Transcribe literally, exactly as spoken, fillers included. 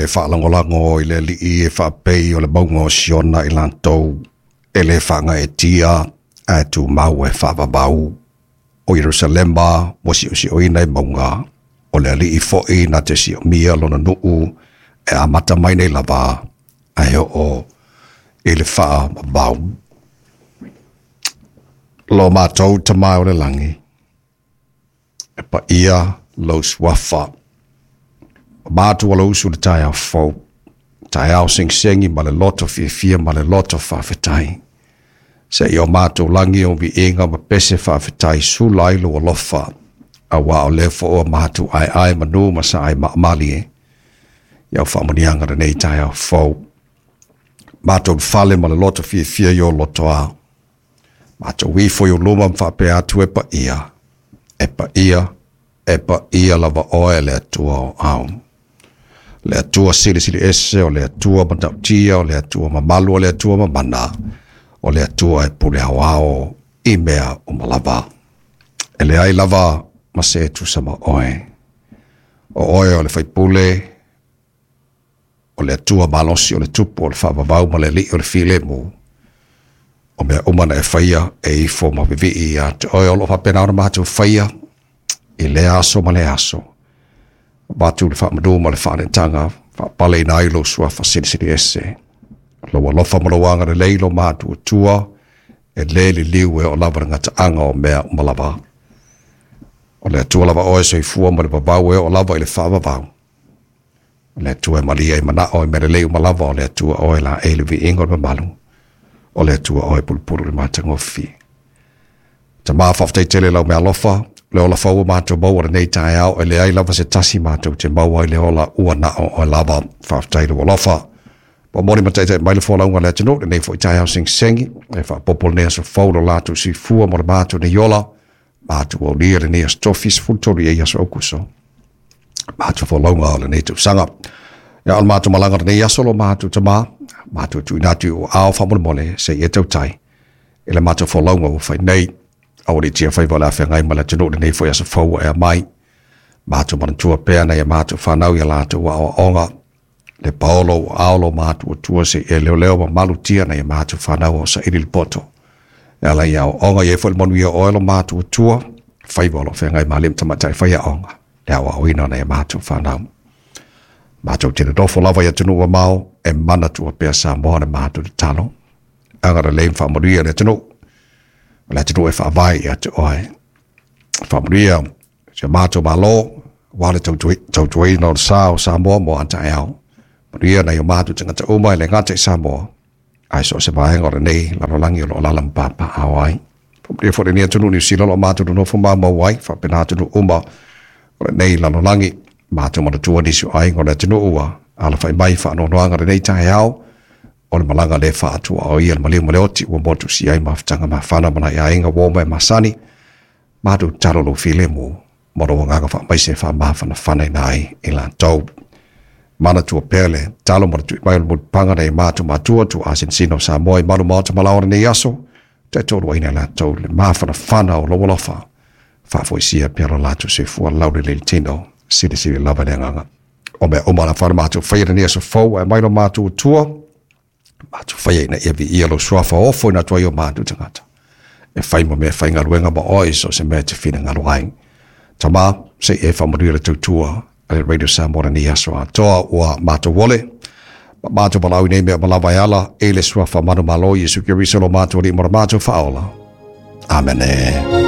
e faalagolago i le Alii e faapei o le mauga o Siona i latou e le faagaeetia ae tumau e faavavau o Ierusalema ua siosioina i mauga o le Alii fo'i na te siomia lona nuu e amata mai nei lava ae oo i le faavavau. Lo matou Tama o le lagi, e paia lou suafa. O matou alausu le taeao fou, taeao segisegi ma le loto fiafia ma le loto faafetai. Se i o matou lagi o viiga ma pese faafetai sula ai lou alofa, auā o lea foi ua matou aeae manu ma saai maamalie i au faamanuiaga lenei taeao fou. Matou fale ma le loto fiafia i o lotoa. Matou ifo i ou luma ma faapea atu e paia, e paia, e paia lava oe le Atua o ao. Le Atua silisili ese, o le Atua matautia, o le Atua mamalu, o le Atua mamana, o le Atua e pule aoao i mea uma lava. E leai lava ma se e tusa ma oe. O oe o le faipule, o le Atua malosi o le tupu o le faavavau ma le Alii o le filemu. O mea uma na e faia e ifo ma vivii ia te oe o loo faapena ona matou faia i lea aso ma lea aso. Avatu le faamanu ma le faaneetaga faapaleina ai lou suafa silisili ese. Lou alofa ma lou agalelei lo matuatua e le liliu e oo lava le gataaga o mea uma lava. O le Atua lava oe soifua ma le vavau e oo lava i le faavavau. O le Atua e malia i manao i mea lelei uma lava, o le Atua oe laei le viiga o le mamalu. O le Atua oe pulupulu i le matagofie. Tama, faafetai tele lau meaalofa, le ola fou ua matou maua lenei taeao, e leai lava se tasi matou te maua ai le ola ua na o oe lava. Faafetai lou alofa. Ua momoli ma taitai mai le folauga a le atunuu lenei foi taeao segisegi, e faaopoopo lenei aso fou lo latou soifua mo le matou nei ola, matou aulia lenei aso tofi sefulu tolu i ai aso Aokuso. Matou folauga o lenei tausaga. Ia o le matou malaga lenei aso lo matou Tama, matou tuuina atu i ou aao faamolemole se i e tautai i le matou folauga ua fai nei. Aua ne i tiafaiva o le a feagai ma le atunuu lenei foi aso fou ua ea mai. Matou manatua pea nai a matou fanau i a latou aoaoga. Le paolo ua ao lo matuatua se i e leoleo ma malutia nai a matou fanau o saili le poto. E ala i aoaoga i ai foi le manuia o oe lo matuatua, faiva o lo o feagai ma alii ma tamaitai faiaoga, le aoaoina o nai a matou fanau. Matou te nonofo lava i atunuu mamao e manatua pea Samoa le matou tatalo. Agalelei ma faamanuia le atunuu, o le atunuu e faavae ia te oe. Faamanuia si o matou Malo, aua le tautuaina o le sa o Samoa mo a taeao. Manuia nai o matou tagata uma e le gata i Samoa, ae so o se vaega o lenei lalolagi o lo o alaala ma papaaao ai. Faamanuia foi lenei atunuu Niu Sila o lo o matou nonofo maumau ai, faapena atunuu uma o lenei lalolagi. Matou manatua nisi o aiga o le atunuu ua alafai mai i faanoanoaga lenei taeao, o le malaga le faatuaoia le maliu ma le oti ua motusia ai mafutaga mafana ma nai aiga ua oma e masani. Matou tatalo lou filemu ma lou agaga faamaise e faamafanafanaina ai i latou. Manatua pea le tatalo ma le tui mai o le mulipapaga nai matou matua tuuasinasina o Samoa i malu maota ma laoa lenei aso, taitoluaina i latou le mafanafana o lou alofa, faafoisia pea lo latou soifua laulelei le tino, silisili lava le agaga. O mea uma na whana mātou whaia lenei aso fou ae mai lo mātou Atua, mātou whaia ina ia viia lou suafa ofo ina atu ai o mātou tagata. E whai mo mea whaingaluega ma oe so se mea te finagalo ai. Tama, se i e whaamanuia le tautua a le Radio Samoa lenei aso atoa ua mātou ole. Ma mātou valaau i nei mea uma lava e ala i le suafa manumalo Iesu Keriso lo mātou Alii ma lo mātou Faaola. Amene.